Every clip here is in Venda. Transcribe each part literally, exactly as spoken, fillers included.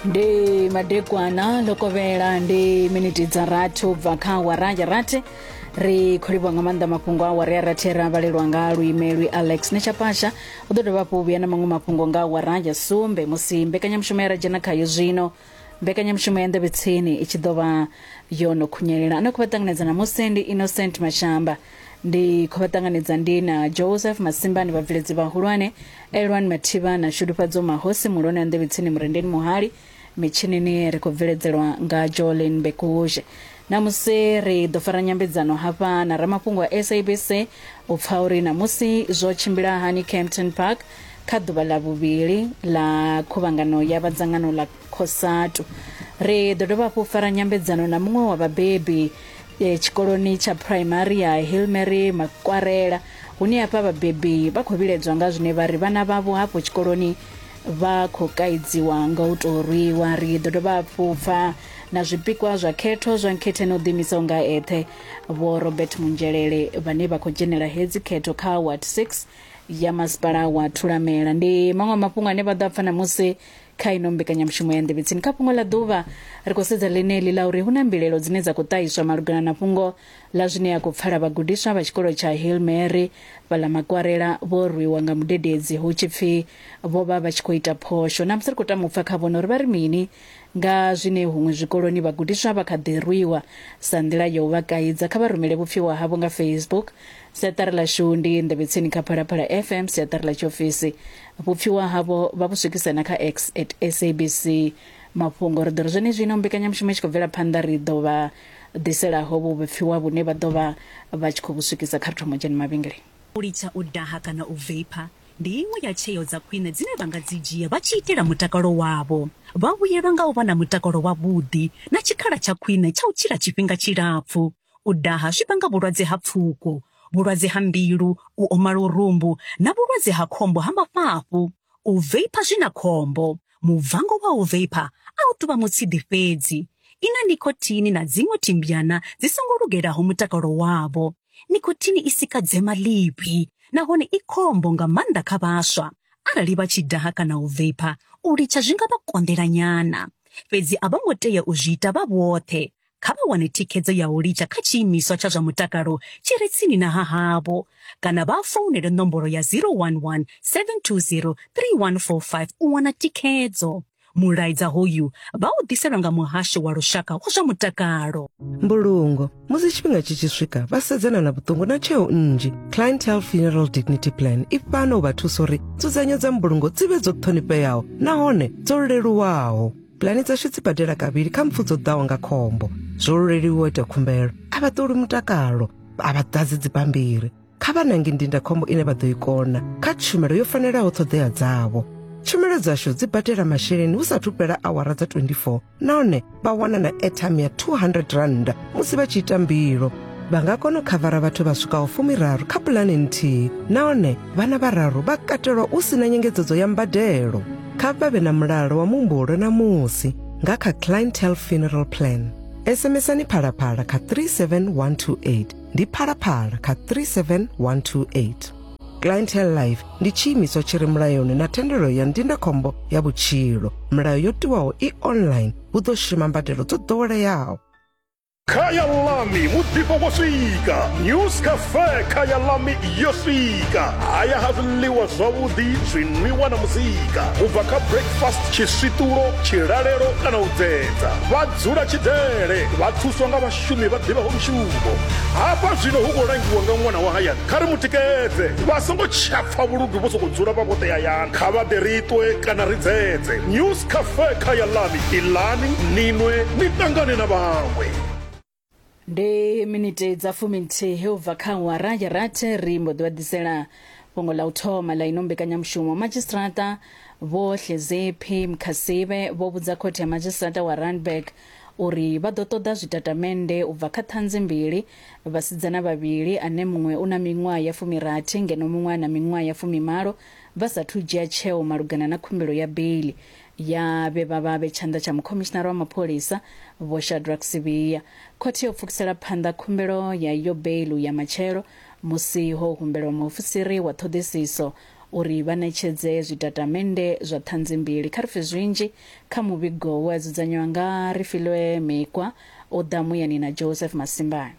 Ndi madekwana lokovhela ndi miniti dza rathi ubva kha awara ya rathi. Ri khou livhuwa nga maanḓa mafhungo a awara ya rathi ra vhalelwa nga luimelwi Alex Nechapasha. U ḓo dovha hafhu vhuya na maṅwe mafhungo nga awara ya sumbe musi mbekanyamushumo ya ra dzhena khayo zwino. Mbekanyamushumo ya Nḓevhe Tsini i tshi ḓo vha yo no khunyelela. Ano khou vha ṱanganedza namusi ndi Innocent Mashamba. Ndi khou vha ṱanganedza ndi na Joseph Masimbani, vhabveledzi vhahulwane Elwan Mathivha na Shudufhadzo Mahosi, muhulwane wa Nḓevhe Tsini Murendeni Muhali. Mitshinini ri khou bveledzelwa nga Jolin Bekuzhe. Namusi ri ḓo fara nyambedzano hafha na ramafhungo wa S A B C u pfa uri namusi zwo tshimbila hani Kempton Park kha ḓuvha ḽa vhuvhili ḽa khuvhangano ya vhadzangano ḽa COSATU. Ri ḓo dovha hafhu fara nyambedzano na muṅwe wa vhabebi e, tshikoloni tsha primary ya Hillmary Makwarela, hune hafha vhabebi vha khou vhiledzwa nga zwine vha ri vhana vhavho hafho tshikoloni vha khou kaidziwa nga u tou rwiwa. Ri ḓo dovha hafhu pfa na zwipikwa zwa khetho zwa nkhetheni u ḓiimisaho nga eṱhe Vho Robert Munzhelele vhane vha khou dzhenela hedzi khetho kha Ward six ya masipala wa Thulamela. Ndi maṅwe a mafhungo ane vha ḓo pfa namusi kha ino mbekanyamushumo ya Nḓevhe Tsini. Kha fhungo ḽa ḓuvha ri khou sedza ḽeneḽi ḽa uri hu na mbilelo dzine dza khou ṱahiswa malugana na fhungo ḽa zwine ya khou pfala vhagudiswa vha tshikolo tsha Hillmary vha ḽa Makwarela vho rwiwa nga mudededzi hu tshi pfi vho vha vha tshi khou ita phosho. Namusi ri khou tama u pfa kha vhone uri vha ri mini nga zwine huṅwe zwikoloni vhagudiswa vha kha ḓi rwiwa sa nḓila ya u vha kaidza. Kha vha rumele vhupfiwa havho nga Facebook. Siaṱari ḽashu ndi Nḓevhe Tsini kha Phalaphala F M, siaṱari ḽa tshiofisi. Vhupfiwa havho vha vhu swikisa na kha X at S A B C Mafhungo. Ri ḓo ri zwenezwino mbekanyamushumo i tshi khou bvela phanḓa ri ḓo vha ḓiselaho vhupfiwa vhune vha ḓo vha vha tshi khou vhu swikisa kha ri thoma dzhena mavhengeleni. U litsha u daha kana u vapor ndi iṅwe ya tsheo dza khwine dzine vha nga dzi dzhia vha tshi itela mutakalo wavho. Vha vhuyelwa nga u vha na mutakalo wavhuḓi na tshikhala tsha khwine tsha u tshila tshifhinga tshilapfu. U daha zwi vhanga vhulwadze ha pfuko, vhulwadze ha mbilu, u oma lurumbu na vhulwadze ha khombo ha mafhafhu. U vapor zwi na khombo. Muvango wa u vapor a u tou vha mutsidi fhedzi. I na nikotini na dziṅwe thimbyana dzi songo lugelaho mutakalo wavho. Nikotini i sika dzema ḽivhi nahone i khombo nga maanḓa kha vhaswa. Arali vha tshi daha kana u vapor, u litsha zwi nga vha konḓela nyana. Fhedzi a vho ngo tea u zwi ita vha vhoṱhe. Kha vha wane thikhedzo ya u litsha kha tshiimiswa tsha zwa mutakalo tshi re tsini na ha havho, kana vha founele nomboro ya zero one one seven two zero three one four five u wana thikhedzo. Mulaedza hoyu vha u ḓiselwa nga muhasho wa lushaka wa zwa mutakalo. Mbulungo musi tshifhinga tshi tshi swika vha sedzana na vhuṱungu na tsheo nnzhi. Clientele Funeral Dignity Plan i fhano u vha thusa uri nzudzanyo dza mbulungo dzi vhe dzo ṱhonifheaho nahone dzo leluwaho. Pulani dzashu dzi badela kavhili kha mpfu dzo ḓaho nga khombo. Zwo leluwa u ita khumbelo, a vha ṱoli mutakalo, a vha ḓadzi dzibammbiri. Kha vha nange ndindakhombo ine vha ḓo i kona kha tshumelo yo fanelaho ṱhoḓea dzavho. Tshumelo dzashu dzi badela masheleni hu sathu fhela awara dza twenty-four nahone vha wana na airtime ya two hundred rand musi vha tshi ita mbilo. Vha nga kona u khavara vhathu vha swikaho fumiraru kha pulani nthihi nahone vhana vhararu vha katelwa u sina nyengedzedzo ya mbadelo. Kha vha vhe na mulalo wa muhumbulo na musi nga kha Clientele Funeral Plan. SMSani Phalaphala kha three seven one two eight. Ndi Phalaphala kha three seven one two eight. Clientele Life ndi tshiimiswa tshi re mulayoni na thendelo ya ndindakhombo ya vhutshilo. Milayo yo tiwaho i online, hu ḓo shuma mbadelo dzo ḓoweleaho. Khaya Lami muḓifho wo swika. News Cafe Khaya Lami yo swika. Haya ha zwiḽiwa zwavhuḓi, zwinwiwa na muzika. U bva kha breakfast, tshiswitulo, tshilalelo kana u dzedza. Vha dzula tshidele, vha thuswa nga vhashumi vha ḓivhaho mushumo. Hafha zwino hu khou langiwa nga ṅwana wa hayani. Kha ri mutikedze, vha songo tsha pfa vhuludu vho sokou dzula vha vhoṱhe hayani. Kha vha ḓe ri ṱwe kana ri dzedze. News Cafe Khaya Lami, iḽani, ni nwe, ni ṱangane na vhaṅwe. Ndi miniti dza fuminthihi u bva kha awara ya rathi ri mbo ḓi vha ḓisela fhungo ḽa u thoma ḽa ino mbekanyamushumo. Madzhisiṱiraṱa Vho Hleziphi Mkhasive vho vhudza khothe ya madzhisiṱiraṱa wa Randburg uri vha ḓo ṱoḓa zwitatamennde u bva kha ṱhanzi mbili, vhasidzana vhavhili ane muṅwe u na miṅwaha ya fumirathi ngeno muṅwe a na miṅwaha ya fumimalo, vha sathu dzhia tsheo malugana na khumbelo ya beili ya vhe vha vha vhe tshanḓa tsha mukhomishinara wa mapholisa Vho Shadrack Sibiya. Khothe yo pfukisela phanḓa khumbelo ya iyo beilu ya matshelo musi ho humbelwa muofisiri wa ṱhoḓisiso uri vha ṋetshedze zwitatamennde zwa ṱhanzi mbili. Kha ri pfe zwinzhi kha muvhigo we a dzudzanywa nga Rifilwe Mekwa o ḓa muyani na Joseph Masimbani.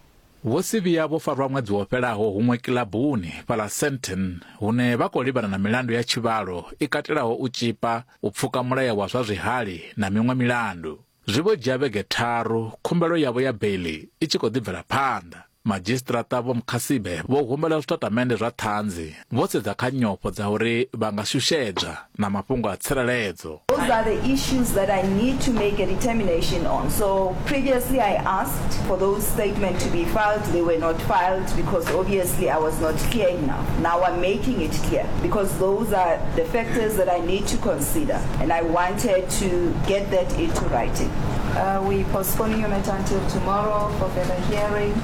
Vho Sibiya vho farwa ṅwedzi wo fhelaho huṅwe kilabuni fhaḽa Sandton hune vha khou livhana na milandu ya tshivhalo i katelaho u tshipa, u pfuka mulayo wa zwa zwihali na miṅwe milandu. Zwi vho dzhia vhege tharu khumbelo yavho ya beili i tshi khou ḓi bvela phanḓa. Madzhisiṱiraṱa Vho Mkhasibe vho humbela zwitatamennde zwa ṱhanzi vho sedza kha nyofho dza uri vha nga shushedzwa na mafhungo a tsireledzo. Those are the issues that I need to make a determination on. So previously I asked for those statements to be filed. They were not filed because obviously I was not clear enough. Now I'm making it clear because those are the factors that I need to consider, and I wanted to get that into writing. Uh, we postponing your matter until tomorrow for further hearing.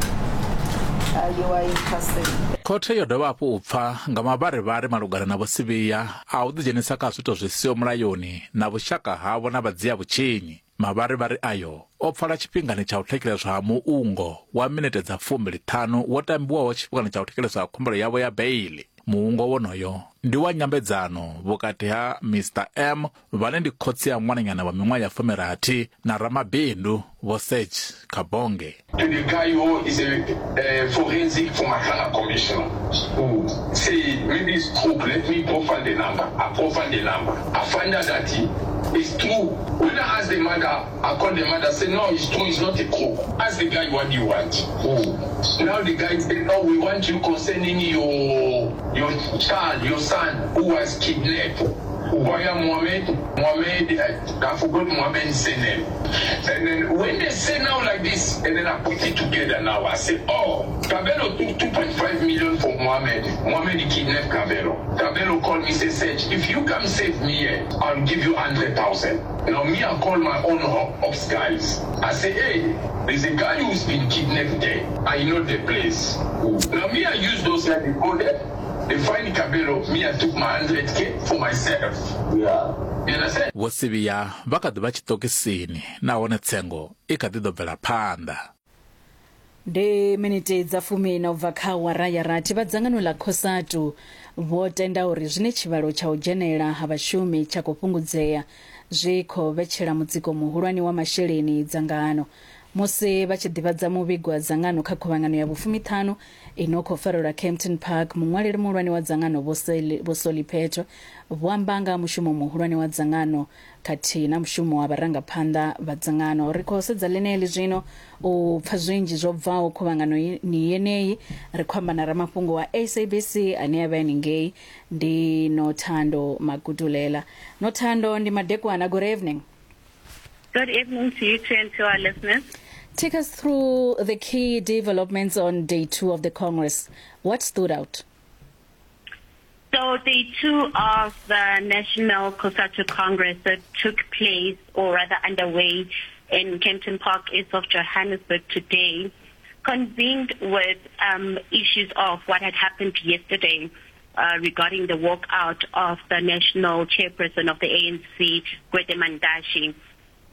Uh, you are in custody. Khothe yo dovha hafhu u pfa nga mavharivhari malugana na Vho Sibiya a u ḓidzhenisa kha zwiito zwi siho mulayoni na vhushaka havho na vhadzia vhutshinyi. Mavharivhari ayo o pfala tshifhingani tsha u thetsheleswa ha muungo wa minete dza fumbili ṱhanu wo tambiwaho tshifhingani tsha u thetsheleswa ha khumbelo yavho ya beili. Muungo wonoyo ndi wa nyambedzano vhukati ha Mister M vhane ndi khotsi ya ṅwananyana wa miṅwaha ya fumirathi na ramabindu Vho Serge Kabonge. To the guy who is a, a forensic for Madlanga commissioner who say maybe it's true, let me profile the number. I profile the number. I find out that it's true. When I ask the mother, I call the mother, say no, it's true, it's not a crook. Ask the guy what do you want. Mm. Now the guy said, no, we want you concerning your your child, your son who was kidnapped. Via Mohammed, Mohammed, I forgot Mohammed's surname. And then when they say now like this, and then I put it together now, I say, oh, Kabelo took two point five million from Mohammed. Mohammed kidnapped Kabelo. Kabelo called me, say, Sage, if you come save me here, I'll give you one hundred thousand. Now me, I call my own ops guys. I say, hey, there's a guy who's been kidnapped there. I know the place. Now me, I use those guys, they go there. They find Kabelo, me, I took my one hundred K for myself. Yeah. You understand? Vho Sibiya vha kha ḓi vha tshiṱokisini nahone tsengo i kha ḓi ḓo bvela phanḓa. Ndi miniti dza fumi na u bva kha awara ya rathi. Vha dzangano ḽa COSATU vho tenda uri zwine tshivhalo tsha u dzhenela ha vhashumi tsha khou fhungudzea zwi khou vhetshela mutsiko muhulwane wa masheleni dzangano. Musi vha tshi ḓivhadza muvhigo wa dzangano kha khuvhangano ya vhufumiṱhanu ino khou farelwa Kempton Park, muṅwaleli muhulwane wa dzangano Vho Solly Pheto vho amba nga mushumo muhulwane wa dzangano khathihi na mushumo wa vharangaphanḓa vha dzangano. Ri khou sedza ḽeneḽi zwino u pfa zwinzhi zwo bvaho khuvhangano ni yeneyi. Ri khou amba na ramafhungo wa S A B C ane a vha henengei, ndi Nothando Magudulela. Nothando, ndi madekwana, good evening. Good evening to you too and to our listeners. Take us through the key developments on day two of the Congress. What stood out? So day two of the National COSATU Congress that took place, or rather underway, in Kempton Park, east of Johannesburg today, convened with um, issues of what had happened yesterday uh, regarding the walkout of the national chairperson of the A N C, Gwede Mantashe.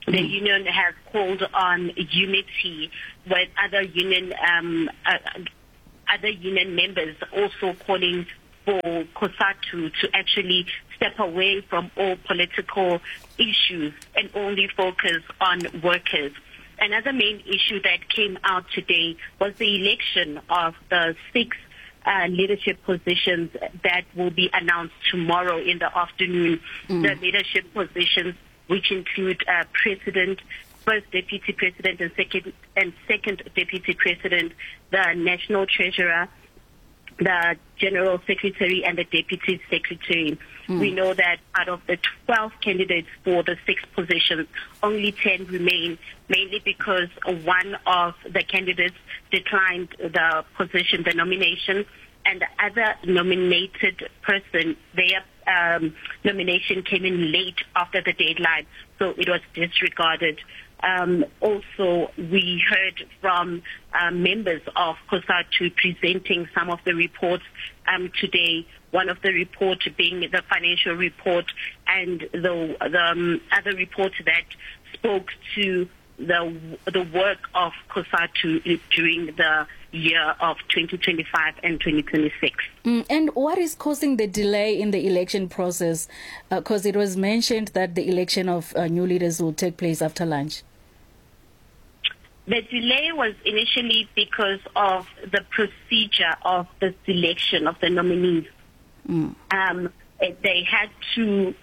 The union has called on unity with other union um, uh, other union members also calling for COSATU to actually step away from all political issues and only focus on workers. Another main issue that came out today was the election of the six uh, leadership positions that will be announced tomorrow in the afternoon. Mm. The leadership positions, which include uh, president, first deputy president, and second and second deputy president, the national treasurer, the general secretary, and the deputy secretary. Mm. We know that out of the twelve candidates for the six positions, only ten remain, mainly because one of the candidates declined the position, the nomination, and the other nominated person, their um, nomination came in late after the deadline, so it was disregarded. Um, also, we heard from uh, members of COSATU presenting some of the reports um, today, one of the reports being the financial report and the, the um, other report that spoke to the, the work of COSATU during the year of twenty twenty-five and twenty twenty-six. Mm, and what is causing the delay in the election process? Because uh, it was mentioned that the election of uh, new leaders will take place after lunch. The delay was initially because of the procedure of the selection of the nominees. Mm. Um, they had to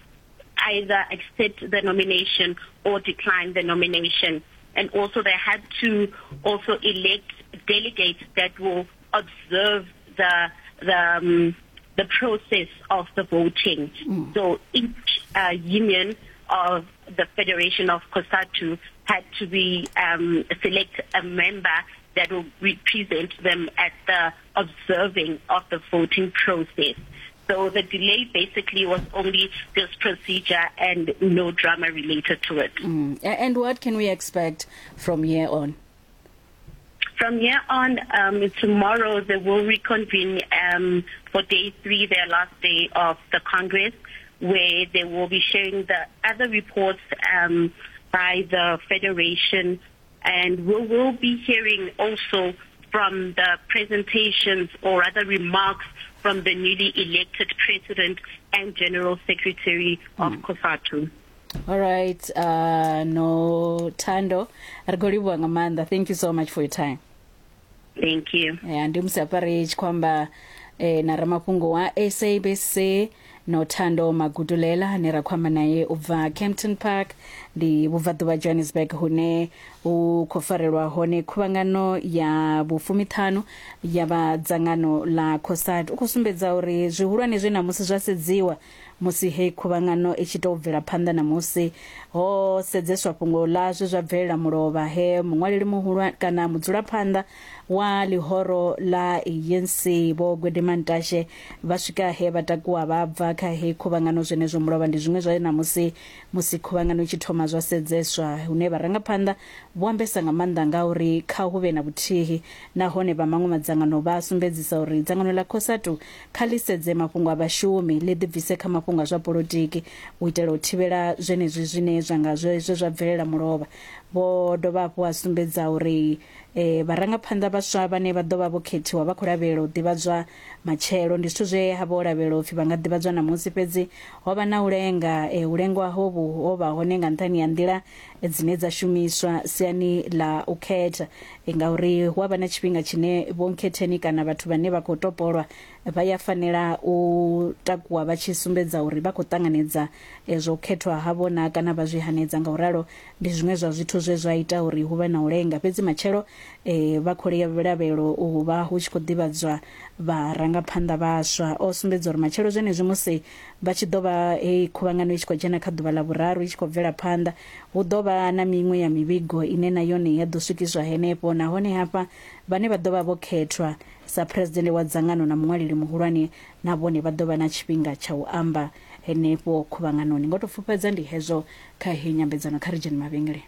either accept the nomination or decline the nomination. And also they had to also elect delegates that will observe the the, um, the process of the voting. Mm. So each uh, union of the Federation of COSATU had to be um, select a member that will represent them at the observing of the voting process. So the delay basically was only this procedure and no drama related to it. Mm. And what can we expect from here on? From here on, um, tomorrow they will reconvene um, for day three, their last day of the Congress, where they will be sharing the other reports um, by the Federation. And we will be hearing also from the presentations or other remarks from the newly elected President and General Secretary of mm. COSATU. All right, uh, Nothando, thank you so much for your time. Thank you. Yeah, ndi musapari kwamba eh, na ramafhungo wa S A B C Nothando Magudulela ne ra kwamba naye ubva Kempton Park ndi vhubvaḓuvha Johannesburg hune u khou farelwa hone khuvhangano ya vhufumiṱhanu ya vha dzangano ḽa COSATU. U khou sumbedza uri zwihulwane zwe namusi zwa sedziwa musi hei khuvhangano i tshi tou bvela phanḓa na musi ho sedzeswa fhungo ḽa zwe zwa bvelela mulovha he muṅwaleli muhulu kana mudzulaphanḓa wa ḽihoro ḽa A N C Vho Gwede Mantashe vha swika he vha takuwa vha bva kha hei khuvhangano. Zwenezwo mulovha ndi zwiṅwe zwa namusi musi khuvhangano i tshi thoma zwa sedzeswa hune vharangaphanḓa vho ambesa nga maanḓa nga uri kha hu vhe na vhuthihi nahone vha maṅwe madzangano vha sumbedzisa uri dzangano ḽa COSATU kha ḽi sedze mafhungo a vhashumi ḽi ḓibvise kha mafhungo a zwa polotiki u itela u thivhela zwenezwi zwine zwa nga zwe zwa bvelela mulovha. Vho dovha hafhu a sumbedza uri eh vharangaphanḓa vhaswa vhane vha ḓo vha vho khethiwa vha khou lavhelela u ḓivhadzwa matshelo. Ndi zwithu zwe ha vho lavhelela upfi vha nga ḓivhadzwa namusi, fhedzi ho vha na u lenga. E, u lengwa hovhu ho vha hone nga nṱhani ya nḓila dzine dza shumiswa siani ḽa u khetha, e, ngauri hu a vha na tshifhinga tshine vho nkhetheni kana vhathu vhane vha khou topolwa vha ya fanela u takuwa vha tshi sumbedza uri vha khou ṱanganedza zwo khethwa havho na kana vha zwi hanedza. Nga uralo ndi zwiṅwe zwa zwithu zwe zwa ita uri hu vhe na u lenga, fhedzi matshelo e, vha khou lavhelelwa u vha hu tshi khou ḓivhadzwa vharangaphanḓa vhaswa. O sumbedza uri matshelo zwenezwi musi vha tshi ḓo vha hei khuvhangano i tshi khou dzhena kha ḓuvha ḽa vhuraru i tshi khou bvela phanḓa, hu ḓo vha na miṅwe ya mivhigo ine na yone ya ḓo swikiswa henefho, nahone hafha vhane vha ḓo vha vho khethwa sa president wa dzangano na muṅwaleli muhulwane na vhone vha ḓo vha na tshifhinga tsha u amba henefho khuvhanganoni. Ngo to pfufhedza ndi hezwo kha heyi nyambedzano kha ri dzhene mavhengele.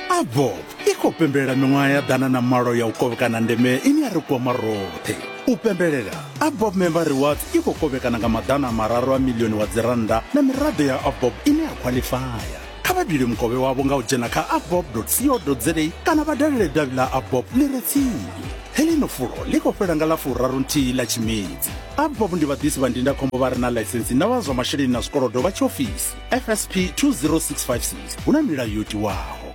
AVBOB i khou pembelela miṅwaha ya ḓana na malo ya u kovhekana ndeme ine ya ri kwama roṱhe. U pembelela AVBOB Member Rewards i khou kovhekana nga maḓana mararu a milioni wa dzirannda na miraḓo ya AVBOB ine ya khwaḽifaya. Kha vha bile mukovhe wavho nga u dzhena kha avbob dot co dot za kana vha dalele davhi ḽa AVBOB ḽi re tsini. Heḽino fulo ḽi khou fhela nga ḽa furaru nthihi ḽa Tshimedzi. AVBOB ndi vhaḓisi vha ndindakhombo vha re na ḽaisentsi na vha zwa masheleni na zwikolodo vha tshiofisi F S P two zero six five six. Hu na milayo yo tiwaho.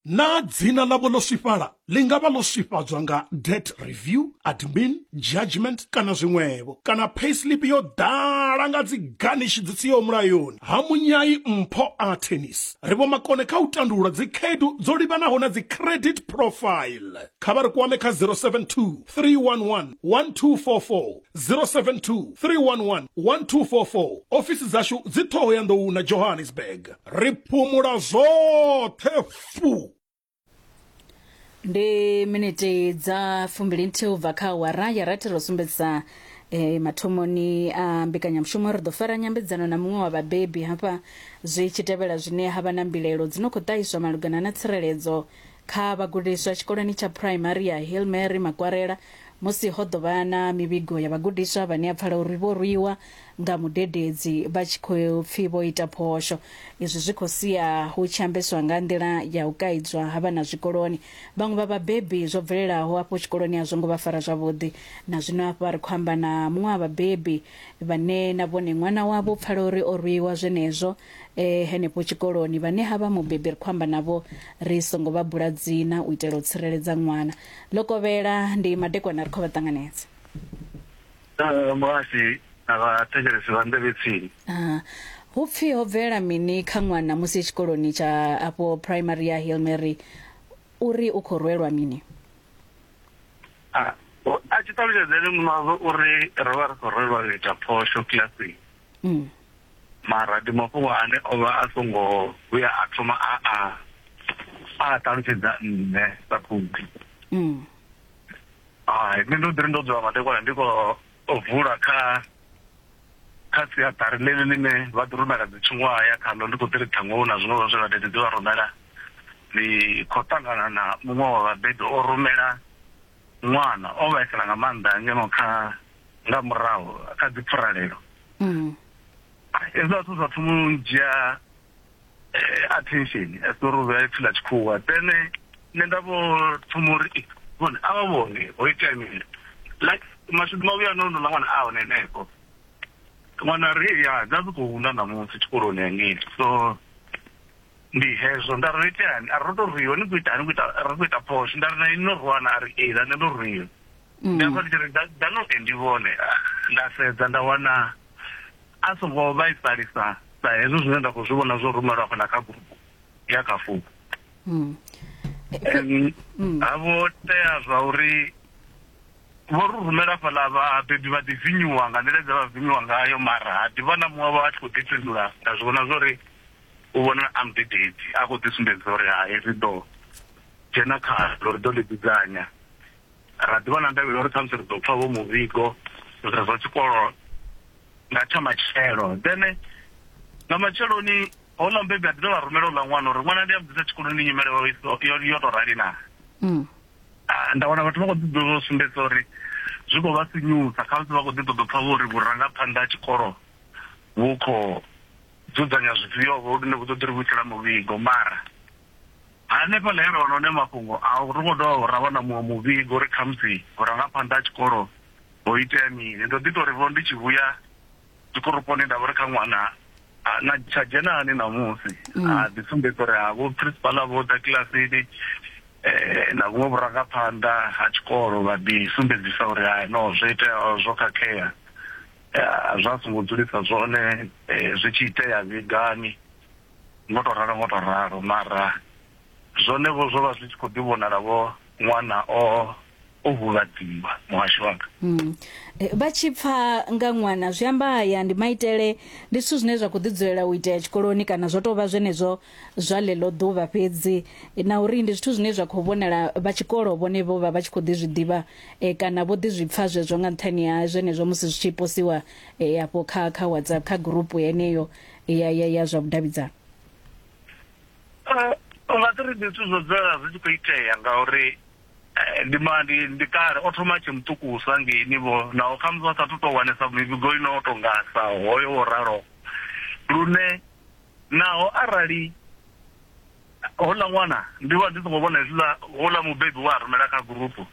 Na dzina ḽavho ḽo swifhala ḽi nga vha ḽo swifhadzwa nga debt review, admin, judgment kana zwiṅwevho, kana payslip yo ḓala nga dzi garnish dzi siho mulayoni. Ha Munyai Mpho a Tennis ri vho makone kha u tandulula dzi khaedu dzo livhanaho na dzi credit profile. Kha vha ri kwame kha zero seven two, three one one, one two four four, zero seven two, three one one, one two four four. Ofisi dzashu dzi Thohoyandou na Johannesburg. Ri phumula zwoṱhe fu. Ndi miniti dza fumbili nthihi ubva kha awara ya rathi. Ro sumbedzisa e, mathomoni a mbekanyamushumo ri ḓo fara nyambedzano na muṅwe wa vhabebi hafha zwi tshi tevhela zwine ha vha na mbilaelo dzi no khou ṱahiswa malugana na tsireledzo kha vhagudiswa tshikoloni tsha primary ya Hail Mary Makwarela, musi ho ḓo vha na mivhigo ya vhagudiswa vhane a pfala uri vho rwiwa nga mudededzi vha tshi khou pfi vho ita phosho. Izwi zwi khou sia hu tshi ambeswa nga nḓila ya u kaidzwa ha vhana zwikoloni. Vhaṅwe vha vhabebi zwo bvelelaho afho tshikoloni a zwo ngo vha fara zwavhuḓi. Na zwino hafha ri khou amba na muṅwe wa vhabebi vhane na vhone ṅwana wavho pfala uri o rwiwa zwenezwo eh henefho tshikoloni. Vhane havha mubebi ri khou amba navho ri songo vha bula dzina u itela u tsireledza ṅwana. Lokovhela ndi madekwana ri khou vha ṱanganedza. Eh muhasi na vhathetshelesi vha nḓevhe tsini. Ah, hu pfi ho bvela mini kha ṅwana musi tshikoloni tsha afho primary ya Hail Mary uri u khou rwelwa mini? Ah, a tshi ṱalutshedzele muṅwe uri ro vha ri khou rwelwa u ita phosho kilasini. Mm. Mara ndi mafhungo ane o vha a songo vhuya a thoma a a a ṱalutshedza nṋe sa khouthi. Mm. Ai, nṋe ndo ḓi ri ndo dzula madekwana ndi khou vula kha kha siaṱari ḽeḽi ḽine vha ḓi rumela dzi tshiṅwahaya khaḽo, ndi khou ḓi ri ṱhaṅwe hu na zwiṅwe zwe vhadededzi vha rumela. Ndi khou ṱangana na muṅwe wa vhabebi o rumela ṅwana o vhaisala nga maanḓa ngeno kha nga murahu kha dzi pfuralelo. Mm. Hezwiḽa zwithu zwa thoma u dzhia attention as uri vha pfi ḽa tshikhuwa. Then nṋe nda vho thoma uri vhone a vha vhone ho itea mini, like mashudu mavhuya no ḽa ṅwana a hone henefho. Ṅwana ri ya dza dzi khou huna ṋamusi tshikoloni hangei, so ndi hezwo nda ri iteani a ri to rwiwa ni khou ita ni khou ita ri khou ita phosho. Nda ri na ini no rwana, a ri ee na nṋe ndo rwiwa. Nda pfa ndi tshi ri ḓa no ndi vhone, nda sedza nda wana a songo vhaisalisa sa hezwo zwine nda khou zwi vhona zwo rumelwa afha na kha gurupu ya kha founu. Ha vho tea zwa uri vho ri rumela fhaḽa vhabebi vha ḓi vinyuwa nga nḓila dze vha vinyuwa ngayo, mara ha ḓi vha na muṅwe vha tshi khou ḓi fhindula. Nda zwi vhona zwori u vhona a mudededzi a khou ḓi sumbedza uri hai ri ḓo dzhena khaḽo, ri ḓo ḽi dzudzanya. Ra ḓi vha na ndavhelo uri khamusi ri ḓo pfha vho muvhigo zwa zwa tshikolo nga tsha matshelo. Then nga matsheloni houḽa mubebi a ḓi dovha rumela uḽa ṅwana uri ṅwana ndi a vhudzisa tshikoloni nyimele yo to rali na. Nda wana vhathu vha khou ḓi ḓo sumbedza uri zwi khou vha sinyusa, khamusi vha khou ḓi ṱoḓa pfha uri vhurangaphanḓa ha tshikolo vhu khou dzudzanya zwifhio vho lune vhu ḓo ḓi ri vhuisela muvhigo. Mara hanefhaḽa he ra wana hone mafhungo a ri khou dovha ra wana muṅwe muvhigo uri khamusi vhurangaphanḓa ha tshikolo ho itea mini. Ndo ḓi tou ri vho ndi tshi vhuya dzikoroponi nda vha ri kha ṅwana na tsha dzhena hani ṋamusi, a ḓi sumbedza uri ha vho principal vho ḓa kilasini eh na vhuṅwe vhurangaphanḓa ha tshikolo vha ḓi sumbedzisa uri hai no zwo itea zwo khakhea, zwa songo dzulisa zwone, zwi tshi itea vhigani ngo to ralo ngo to ralo. Mara zwone vho zwo vha zwi tshi khou ḓi vhonala vho ṅwana o o huvhadziwa muhasho wanga. Mm. Vha tshi pfa nga ṅwana zwi amba haya ndi maitele, ndi zwithu zwine zwa khou ḓi dzulela u itea tshikoloni kana zwo tou vha zwenezwo zwa ḽeḽo ḓuvha fhedzi, na uri ndi zwithu zwine zwa khou vhonala vha tshikolo vhone vho vha vha tshi khou ḓi zwi ḓivha e, kana vho ḓi zwi pfa zwezwo nga nṱhani ha zwenezwo musi zwi tshi posiwa e, afho kha kha WhatsApp kha gurupu yeneyo ya ya ya zwa vhudavhidzano. Uh, nga ri ndi zwithu zwo dzulela zwi tshi khou itea ngauri ndi ma ndi ndi kale o thoma tshi muṱukusa ngeini vho naho khamusi vha sathu tou wanesa mivhigo ino tonga sa hoyo wo ralo, lune naho arali houḽa ṅwana ndi vha ndi songo vhona hezwiḽa houḽa mubebi wa rumela kha gurupu,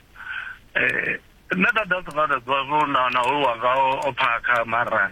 eh nṋe nda ḓa songo nda ḓivha zwo na na hoyu wanga o phakha, mara